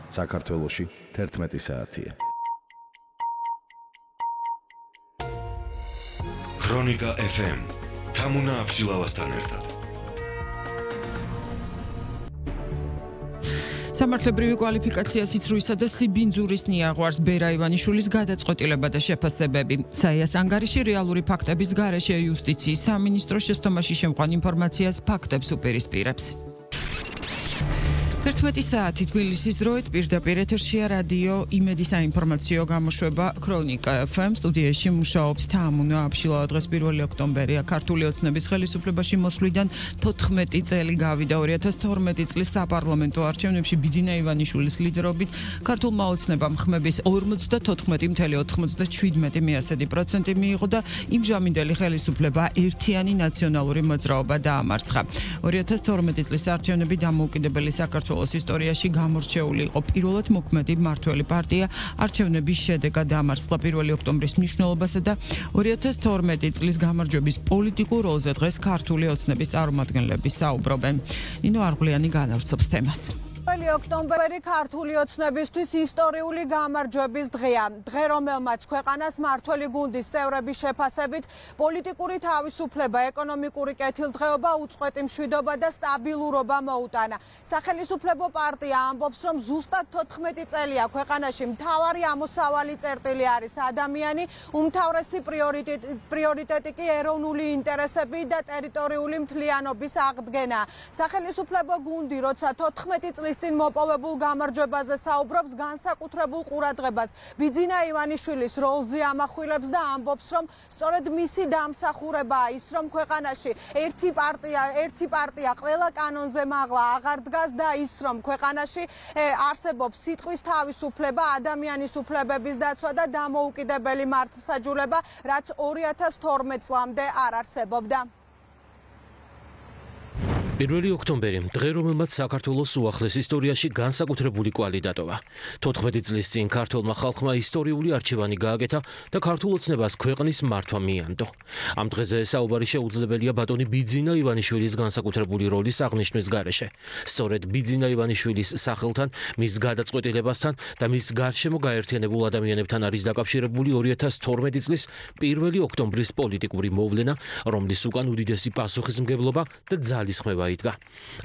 საქართველოში 11 საათია. ქრონიკა FM თამუნა აბშილავასთან ერთად. სამართლებრივი კვალიფიკაცია სიცრუისა და სიბინძურის ნიაღვარს ბერა ივანიშვილის გადაწყვეტილება და შეფასებები. საიას ანგარიში რეალური ფაქტების გარეშე იუსტიციის სამინისტრო შესტომაში შემყვან ინფორმაციას ფაქტებს უპირისპირებს. 11 საათი თბილისის დროით პირდაპირ ეთერშია რადიო იმედი საინფორმაციო გამოშვება ქრონიკა FM სტუდიაში მუშაობს თამუნა აბშილავა. დღეს 1 ოქტომბერია. ქართული ოცნების ხელისუფლებაში მოსვლიდან 14 წელი გავიდა. 2012 წლის საპარლამენტო არჩევნებში ბიძინა ივანიშვილის ლიდერობით ქართულმა ოცნებამ ხმების 54.97% მიიღო და იმჟამინდელი ხელისუფლება ერთიანი ნაციონალური მოძრაობა დაამარცხა. 2012 წლის არჩევნები დამოუკიდებელი საქართველოს ისტორიაში გამორჩეული იყო. პირველად მოქმედი მმართველი პარტია არჩევნების შედეგად დაამარცხა 1 ოქტომბრის მნიშვნელობასა და 2012 წლის გამარჯვების პოლიტიკურ როლზე დღეს ქართული ოცნების წარმომადგენლები საუბრობენ. ნინო არღვლიანი განავრცობს თემას. 1 ოქტომბერი ქართული ოცნებისთვის ისტორიული გამარჯვების დღეა. დღე, რომელმაც ქვეყანას მმართველი გუნდის წევრების შეფასებით პოლიტიკური თავისუფლება, ეკონომიკური კეთილდღეობა, უწყვეტი მშვიდობა და სტაბილურობა მოუტანა. სახელისუფლებო პარტია ამბობს, რომ ზუსტად 14 წელია ქვეყანაში მთავარი ამოსავალი წერტილი არის ადამიანი, უმთავრესი პრიორიტეტი კი ეროვნული ინტერესები და ტერიტორიული მთლიანობის აღდგენა. სახელისუფლებო გუნდი, როცა 14 წლის წინ მოპოვებულ გამარჯვებაზე საუბრობს, განსაკუთრებულ ყურადღებას ბიძინა ივანიშვილის როლზე ამახვილებს და ამბობს, რომ სწორედ მისი დამსახურებაა ის, რომ ქვეყანაში ერთი პარტია ყველა კანონზე მაღლა აღარ დგას და ის, რომ ქვეყანაში არსებობს სიტყვის თავისუფლება, ადამიანის უფლებების დაცვა და დამოუკიდებელი მართლმსაჯულება, რაც 2012 წლამდე არ არსებობდა. 1 ოქტომბერი დღე, რომელმაც საქართველოს უახლეს ისტორიაში განსაკუთრებული კვალი დატოვა. 14 წლის წინ ქართულმა ხალხმა ისტორიული არჩევანი გააკეთა და ქართულ ოცნებას ქვეყნის მართვა მიანდო. ამ დღეზე საუბარი შეუძლებელია ბატონი ბიძინა ივანიშვილის განსაკუთრებული როლის აღნიშვნის გარეშე. სწორედ ბიძინა ივანიშვილის სახელთან, მის გადაწყვეტილებასთან და მის გარშემო გაერთიანებულ ადამიანებთან არის დაკავშირებული 2012 წლის 1 ოქტომბრის პოლიტიკური მოვლენა, რომლის უკან უდიდესი პასუხისმგებლობა და ძალისხმევა იდგა.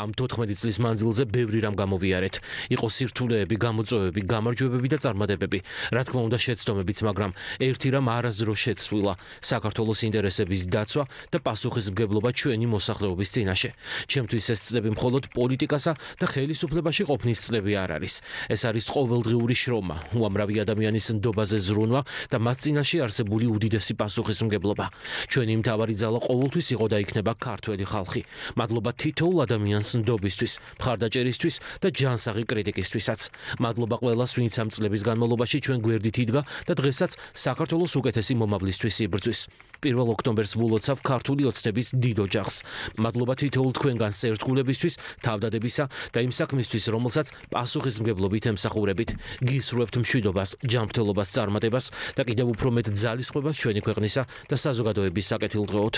ამ 14 წლის მანძილზე ბევრი რამ გამოვიარეთ. იყო სირთულეები, გამოწვევები, გამარჯვებები და წარმატებები. რა თქმა უნდა შეცდომებიც, მაგრამ ერთი რამ არასდროს შეცვლილა: საქართველოს ინტერესების დაცვა და პასუხისმგებლობა ჩვენი მოსახლეობის წინაშე. ჩემთვის ეს წლები მხოლოდ პოლიტიკასა და ხელისუფლებაში ყოფნის წლები არ არის. ეს არის ყოველდღიური შრომა, უამრავი ადამიანის ნდობაზე ზრუნვა და მათ წინაშე არსებული უდიდესი პასუხისმგებლობა. ჩვენი მთავარი ძალა ყოველთვის იყო და იქნება ქართველი ხალხი. მადლობა თითოეულ ადამიანს ნდობისთვის, მხარდაჭერისთვის და ჯანსაღი კრიტიკისთვისაც. მადლობა ყველას, ვინც ამ წლების განმავლობაში ჩვენ გვერდით იდგა და დღესაც საქართველოს უკეთესი მომავლისთვის იბრძვის. 1 ოქტომბერს ვულოცავ ქართული ოცნების დიდ ოჯახს. მადლობა თითოეულ თქვენგანს ერთგულებისთვის, თავდადებისა და იმ საქმისთვის, რომელსაც პასუხისმგებლობით ემსახურებით. გისურვებთ მშვიდობას, ჯანმრთელობას, წარმატებას და კიდევ უფრო მეტ ძალისხმევას ჩვენი ქვეყნისა და საზოგადოების საკეთილდღეოდ.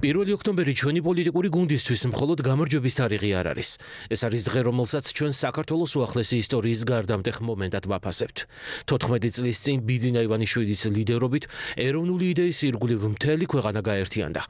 1 ოქტომბერი ჩვენი პოლიტიკური გუნდისთვის მხოლოდ გამარჯვების თარიღი არ არის. ეს არის დღე, რომელსაც ჩვენ საქართველოს უახლესი ისტორიის გარდამტეხ მომენტად ვაფასებთ. 14 წლის წინ ბიძინა ივანიშვილის ლიდერობით ეროვნული იდეის ირგვლივ მთელი ქვეყანა გაერთიანდა.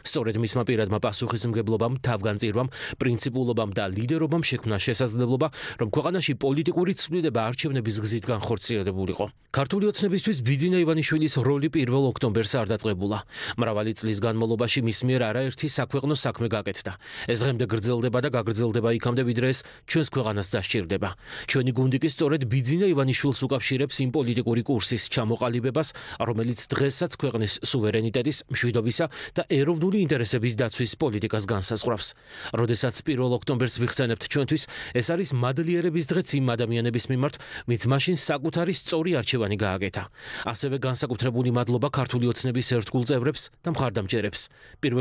სწორედ მისმა პირადმა პასუხისმგებლობამ, თავგანწირვამ, პრინციპულობამ და ლიდერობამ შექმნა შესაძლებლობა, რომ ქვეყანაში პოლიტიკური ცვლილება არჩევნების გზით განხორციელებულიყო. ქართული ოცნებისთვის ბიძინა ივანიშვილის როლი 1 ოქტომბერს არ დაწყებულა. მრავალი წლის განმავლობაში მის მიერ არაერთი საქვეყნო საქმე გაკეთდა. ეს დღემდე გრძელდება და გაგრძელდება იქამდე, ვიდრე ეს ჩვენს ქვეყანას დასჭირდება. ჩვენი გუნდი კი სწორედ ბიძინა ივანიშვილს უკავშირებს იმ პოლიტიკური კურსის ჩამოყალიბებას, რომელიც დღესაც ქვეყნის სუვერენიტეტის, მშვიდობისა და ეროვნული ინტერესების დაცვის პოლიტიკას განსაზღვრავს. როდესაც 1 ოქტომბერს ვიხსენებთ ჩვენთვის, ეს არის მადლიერების დღეც იმ ადამიანების მიმართ, ვინც მაშინ საკუთარი სწორი არჩევანი გააკეთა. ასევე განსაკუთრებული მადლობა ქართული ოცნების ერთგულ წევრებს და მხარდამჭერებს.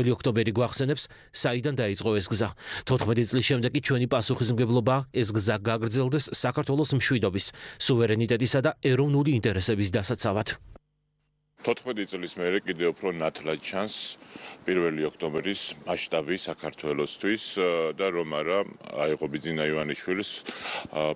1 ოქტომბერი გვახსენებს, საიდან დაიწყო ეს გზა. 14 წლის შემდეგ კი ჩვენი პასუხისმგებლობა ეს გზა გაგრძელდეს საქართველოს მშვიდობის, სუვერენიტეტისა და ეროვნული ინტერესების დასაცავად. 14 წლის მერე კიდევ უფრო ნათლად ჩანს 1 ოქტომბრის მასშტაბი საქართველოსთვის და რომ არა აიღო ბიძინა ივანიშვილის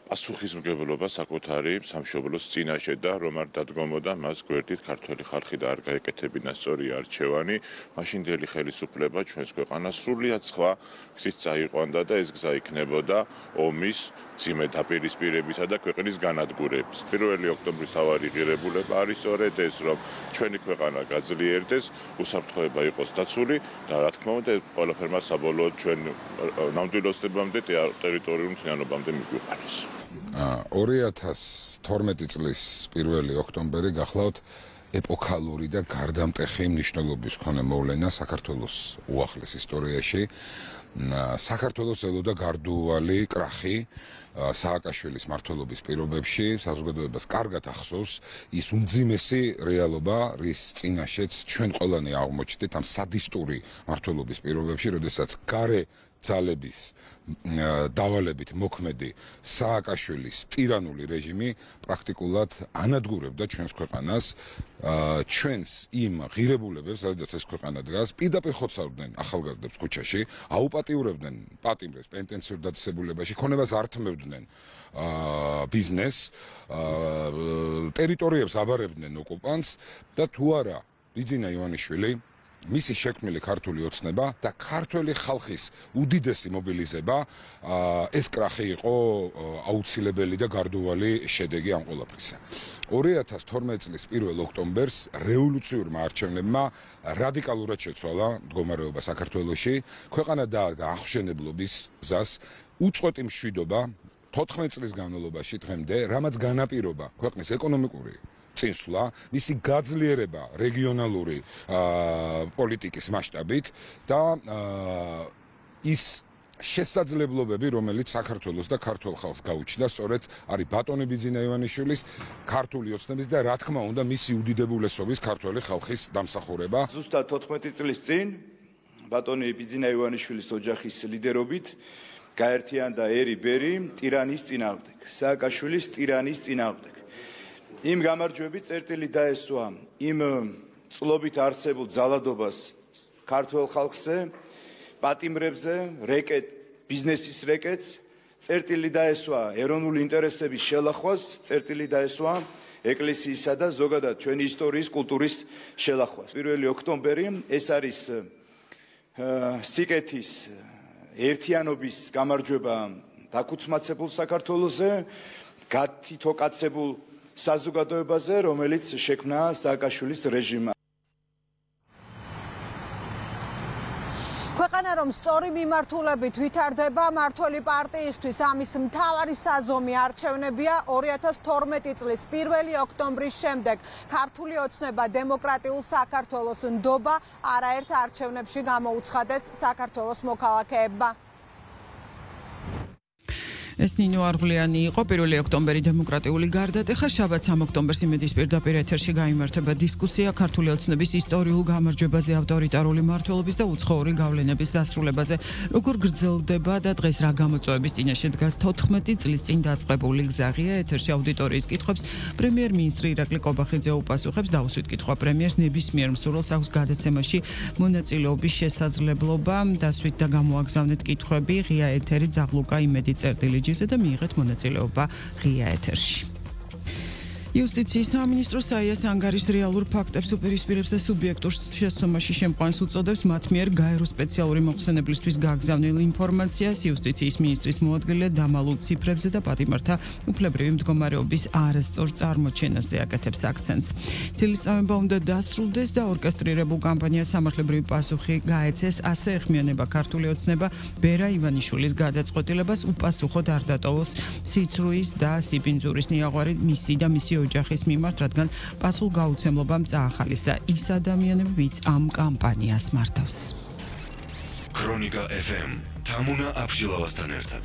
პასუხისმგებლობა საკუთარი სამშობლოს წინაშე და რომ არ დადგომოდა მას გვერდით ქართველი ხალხი და არ გაეკეთებინა სწორი არჩევანი, მაშინდელი ხელისუფლება ჩვენს ქვეყანას სრულიად სხვა გზით წაიყვანდა და ეს გზა იქნებოდა ომის, მძიმე დაპირისპირებისა და ქვეყნის განადგურების. 1 ოქტომბრის თავარი ღირებულება არის სწორედ ეს, რომ ჩვენი ქვეყანა გაძლიერდეს, უსაფრთხოება იყოს დაცული და რა თქმა უნდა, ყველაფერმა საბოლოოდ ჩვენ ნამდვილობამდე ტერიტორიულ მთლიანობამდე მიგვიყვანოს. 2012 წლის 1 ოქტომბერი გახლავთ ეპოქალური და გარდამტეხი მნიშვნელობის მქონე მოვლენა საქართველოს უახლეს ისტორიაში. საქართველოს ელოდა გარდუვალი კრახი სააკაშვილის მმართველობის პირობებში, საზოგადოებას კარგად ახსოვს ის უმძიმესი რეალობა, რის წინაშეც ჩვენ ყველანი აღმოჩნდით ამ სადისტური მმართველობის პირობებში, როდესაც გარე ძალების დავალებით მოქმედი სააკაშვილის ტირანული რეჟიმი პრაქტიკულად ანადგურებდა ჩვენს ქვეყანას, ჩვენს იმ ღირებულებებს, სადაც ეს ქვეყანა დგას, პირდაპირ ხოცავდნენ ახალგაზრდებს ქუჩაში, აუპატიურებდნენ პატიმრებს პენტენციურ დაწესებულებაში, ქონებას ართმევდნენ ბიზნესს, ტერიტორიებს აბარებდნენ ოკუპანტს და თუ არა ბიძინა ივანიშვილი მისი შექმნილი ქართული ოცნება და ქართველი ხალხის უდიდესი მობილიზება ეს კრახი იყო აუცილებელი და გარდუვალი შედეგი ამ ყველაფრისა. 2012 წლის 1 ოქტომბერს რევოლუციურმა არჩევნებმა რადიკალურად შეცვალა მდგომარეობა საქართველოში, ქვეყანა დაადგა აღმშენებლობის გზას, უწყვეტი მშვიდობა 14 წლის განმავლობაში დღემდე, რამაც განაპირობა ქვეყნის ეკონომიკური წინსვლა, მისი გაძლიერება რეგიონალური პოლიტიკის მასშტაბით და ის შესაძლებლობები, რომელიც საქართველოს და ქართულ ხალხს გაუჩნდა, სწორედ არის ბატონი ბიძინა ივანიშვილის ქართული ოცნების და რა თქმა უნდა მისი უდიდებულესობის ქართველი ხალხის დამსახურება. ზუსტად 14 წლის წინ ბატონი ბიძინა ივანიშვილის ოჯახის ლიდერობით გაერთიანდა ერი-ბერი ტირანის წინააღმდეგ, სააკაშვილის ტირანის წინააღმდეგ. იმ გამარჯვებით წერტილი დაესვა იმ წლობით არსებულ ძალადობას ქართველ ხალხზე, პატიმრებზე, ბიზნესის რეკეტს, წერტილი დაესვა ეროვნული ინტერესების შელახვას, წერტილი დაესვა ეკლესიისა და ზოგადად ჩვენი ისტორიის, კულტურის შელახვას. 1 ოქტომბერი ეს არის სიკეთის ერთიანობის გამარჯვება დაქუცმაცებულ საქართველოზე, გათითოკაცებულ საზოგადოებაზე, რომელიც შექმნა სააკაშვილის რეჟიმმა. ქვეყანა რომ სწორი მიმართულებით ვითარდება, მმართველი პარტიისთვის ამის მთავარი საზომი არჩევნებია 2012 წლის 1 ოქტომბრის შემდეგ. ქართული ოცნება დემოკრატიულ საქართველოს ნდობა არაერთ არჩევნებში გამოუცხადეს საქართველოს მოქალაქეებმა. ეს ნინო არღვლიანი იყო 1 ოქტომბერი დემოკრატიული გარდატეხა, შაბათ 3 ოქტომბერს იმედის პირდაპირ ეთერში გაიმართება დისკუსია ქართული ოცნების ისტორიულ გამარჯვებაზე, ავტორიტარული მმართველობის და უცხოური გავლენების დასრულებაზე. როგორ გრძელდება და დღეს რა გამოწვევების წინაშე დგას 14 წლის წინ დაწყებული გზა? ღია ეთერში აუდიტორიის კითხვებს პრემიერ-მინისტრი ირაკლი კობახიძე უპასუხებს. დაუსვით კითხვა პრემიერს, ნებისმიერ მსურველს აქვს გადაცემაში მონაწილეობის შესაძლებლობა. დასვით და გამოაგზავნეთ კითხვები ღია ეთერი ძაღლუკა იმედი წერტილი და მიიღეთ მონაწილეობა ღია ეთერში. იუსტიციის სამინისტრო საიას ანგარის რეალურ ფაქტებს უპირისპირებს და სუბიექტურ შესწომაში შემყვანს უწოდებს მათ მიერ გაერო სპეციალური მოხსენებლისთვის გაგზავნილ ინფორმაციას იუსტიციის მინისტრის მოადგილე დამალულ ციფრებზე და პატიმართა უფლებრივი მდგომარეობის არასწორ წარმოჩენაზე აკეთებს აქცენტს. წელიწადება უნდა დასრულდეს და ორკესტრირებულ კამპანიას სამართლებრივი პასუხი გაეცეს, ასე ეხმიანება ქართული ოცნება ბერა ივანიშვილის გადაწყვეტილებას უპასუხოდ არ დატოვოს სიცრუის და სიბინძურის ნიაღვარი მისი და მისი ოჯახის მიმართ, რადგან პასუხგაუცემლობამ წაახალისა ის ადამიანები, ვინც ამ კამპანიას მართავს. ქრონიკა FM თამუნა აფშილავასთან ერთად.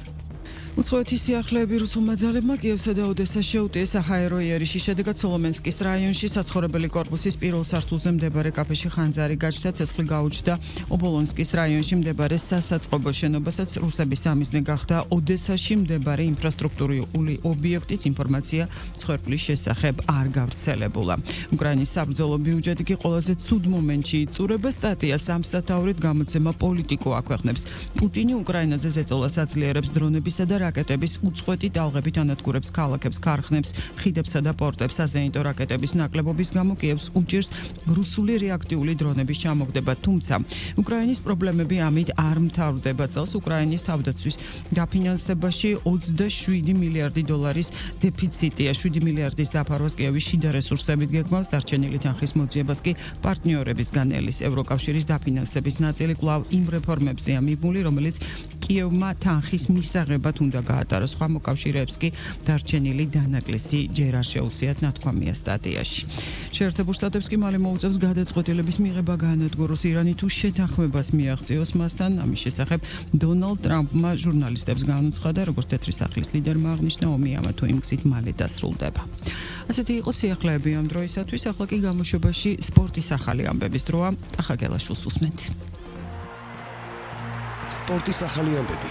უცხოეთის სიახლეები რუსულმა ძალებმა კიევსა და ოდესაში შეუტიეს საჰაერო იერიში. შედეგად სოლომენსკის რაიონში საცხოვრებელი კორპუსის პირველ სართულზე მდებარე კაფეში ხანძარი გაჩნდა, ცეცხლი გაუჩნდა. ობოლონსკის რაიონში მდებარე სასაწყობო შენობასაც რუსების სამიზნე გახდა. ოდესაში მდებარე ინფრასტრუქტურული ობიექტის ინფორმაცია მსხვერპლის შესახებ არ გავრცელებულა. უკრაინის საბრძოლო ბიუჯეტი კი ყველაზე ცუდ მომენტში იწურება. სტატიას ამსათაურით გამოცემა პოლიტიკო აქვეყნებს. პუტინი უკრაინაზე ზეწოლას აძლიერებს დრონებისა და რაკეტების უწყვეტი ტალღებით ანადგურებს ქალაქებს, ქარხნებს, ხიდებსა და პორტებს. აზეინტო რაკეტების ნაკლებობის გამო კიევს უჭირს რუსული რეაქტიული დრონების ჩამოგდება, თუმცა უკრაინის პრობლემები ამით არ მთავრდება. წელს უკრაინის თავდაცვის დაფინანსებაში 27 მილიარდი დოლარის დეფიციტია. 7 მილიარდის დაფარვას კიევის შიდა რესურსებით გეგმავს, დარჩენილი თანხის მოძიებას კი პარტნიორებისგან ელის. ევროკავშირის დაფინანსების ნაწილი კვლავ იმ რეფორმებზეა მიბმული, რომელიც კიევმა თანხის მისაღებად უნდა გაატაროს. სხვა მოკავშირეებს კი დარჩენილი დანაკლისი ჯერ არ შეუციათ, ნათქვამია სტატიაში. შეერთებულ შტატებს კი მალე მოუწევს გადაწყვეტილების მიღება გაანადგუროს ირანი თუ შეთანხმებას მიაღწიოს მასთან. ამის შესახებ დონალდ ტრამპმა ჟურნალისტებს განუცხადა, როგორც თეთრი სახლის ლიდერმა აღნიშნა, ომი ამა თუ იმ გზით მალე დასრულდება. ასეთი იყო სიახლეები ამ დროისათვის. ახლა კი გამოშვებაში სპორტის ახალი ამბების დროა. ტახა გელაშვილს უსმენთ. სპორტის ახალი ამბები.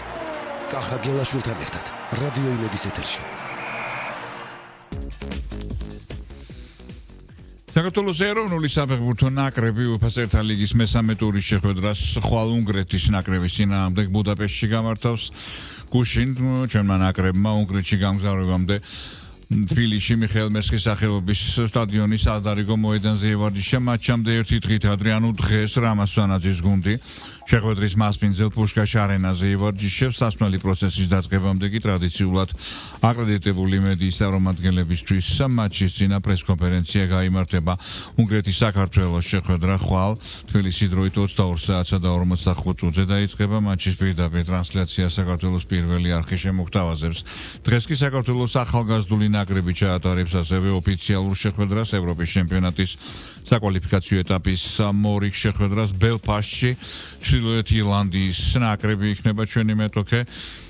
ტახა გელაშვილთან ერთად რადიო იმედის ეთერში. საქართველოს ეროვნული საფეხბურთო ნაკრები UEFA-ს ერთა ლიგის მესამე ტურის შეხვედრას ხვალ უნგრეთის ნაკრების წინააღმდეგ ბუდაპეშტში გამართავს. გუშინ ჩვენმა ნაკრებმა უნგრეთში გამგზავრებამდე თბილისში მიხეილ მესხის სახელობის სტადიონის ადარიგო მოედანზე ევარჯიშა. მატჩამდე ერთი დღით ადრე, ანუ დღეს რამასვანაძის გუნდი შეხვედრის მასპინძელ პუშკაშ არენაზე ევარჯიშებს. სასმელი პროცესის დაწყებამდე კი ტრადიციულად აკრედიტებული მედიის წარმომადგენლებისთვის მატჩის წინა პრესკონფერენცია გაიმართება. უნგრეთის საქართველოს შეხვედრა ხვალ თბილისში დროით 22 საათსა და 45 წუთზე დაიწყება. მატჩის პირდაპირ ტრანსლაცია საქართველოს პირველი არხი შემოგთავაზებს. დღეს კი საქართველოს ახალგაზრდული ნაკრები ჩაატარებს ასევე ოფიციალურ შეხვედრას ევროპის ჩემპიონატის საკვალიფიკაციო ეტაპის მორიგ შეხვედრას ბელფასტში. ჩრდილოეთ ირლანდიის ნაკრები იქნება ჩვენი მეტოქე.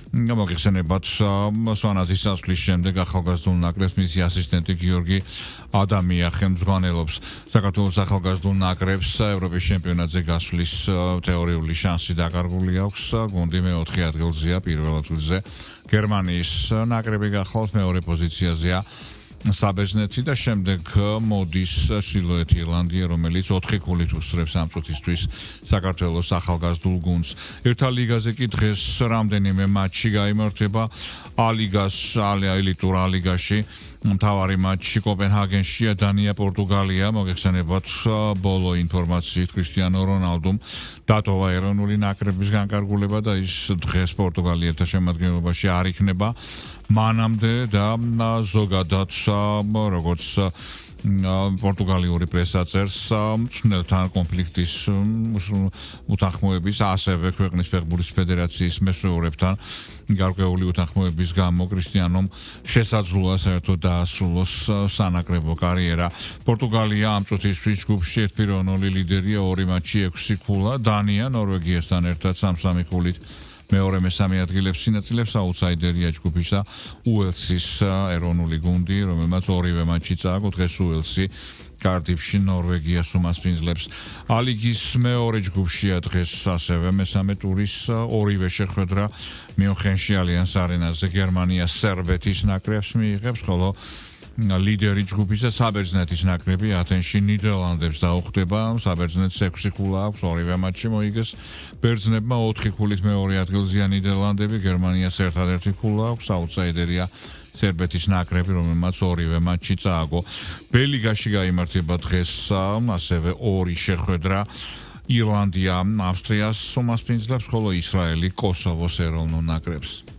გამოგიხსენებათ, სვანაძის წასვლის შემდეგ ახალგაზრდულ ნაკრებს მისი ასისტენტი გიორგი ადამია ხელმძღვანელობს. საქართველოს ახალგაზრდულ ნაკრებს ევროპის ჩემპიონატზე გასვლის თეორიული შანსი დაკარგული აქვს. გუნდი მეოთხე ადგილზეა, პირველ ადგილზე გერმანიის ნაკრები გახლავთ, მეორე პოზიციაზეა საბერძნეთი და შემდეგ მოდის ჩრდილოეთ ირლანდია, რომელიც 4 ქულით უსწრებს ამ წუთისთვის საქართველოს ახალგაზრდულ გუნდს. ერთა ლიგაზე კი დღეს რამდენიმე მატჩი გაიმართება. ელიტურ ალიგაში მთავარი მატჩი კოპენჰაგენშია, დანია, პორტუგალია. მოგეხსენებათ, ბოლო ინფორმაციით კრისტიანო რონალდუმ დატოვა ეროვნული ნაკრების განკარგულება და ის დღეს პორტუგალიელთა შემადგენლობაში არ იქნება. მანამდე და ზოგადად როგორც პორტუგალიური პრესა წერს, მწვრთნელთან კონფლიქტის უთანხმოების, ასევე ქვეყნის ფეხბურთის ფედერაციის მესვეურებთან გარკვეული უთანხმოების გამო კრისტიანომ შესაძლოა საერთოდ დაასრულოს სანაკრებო კარიერა. პორტუგალია ამ წუთისთვის ჯგუფში 1-0 ლიდერია, 2 მატჩი 6 ქულა. დანია ნორვეგიასთან ერთად 3-3 ქულით მეორე მესამე ადგილებს ინაწილებს. აუთსაიდერია ჯგუფისა უელსის ეროვნული გუნდი, რომელმაც ორივე მატჩი წააგო. დღეს უელსი კარდიფში ნორვეგიას უმასპინძლებს. ალიგის მეორე ჯგუფშია დღეს ასევე მესამე ტურის ორივე შეხვედრა მიუნხენში ალიანს არენაზე გერმანია სერბეთის ნაკრებს მიიღებს, ხოლო ლიდერი ჯგუფისა საბერძნეთის ნაკრები ათენში ნიდერლანდებს დაუხდება. საბერძნეთს 6 ქულა აქვს, ორივე მატჩი მოიგეს. ბერძნებმა 4 ქულით მეორე ადგილზეა ნიდერლანდები, გერმანიას ერთადერთი ქულა აქვს. აუთსაიდერია სერბეთის ნაკრები, რომელმაც ორივე მატჩი წააგო. ბელიგაში გაიმართება დღეს ასევე ორი შეხვედრა. ირლანდია ავსტრიას უმასპინძლებს, ხოლო ისრაელი კოსოვოს ეროვნულ ნაკრებს.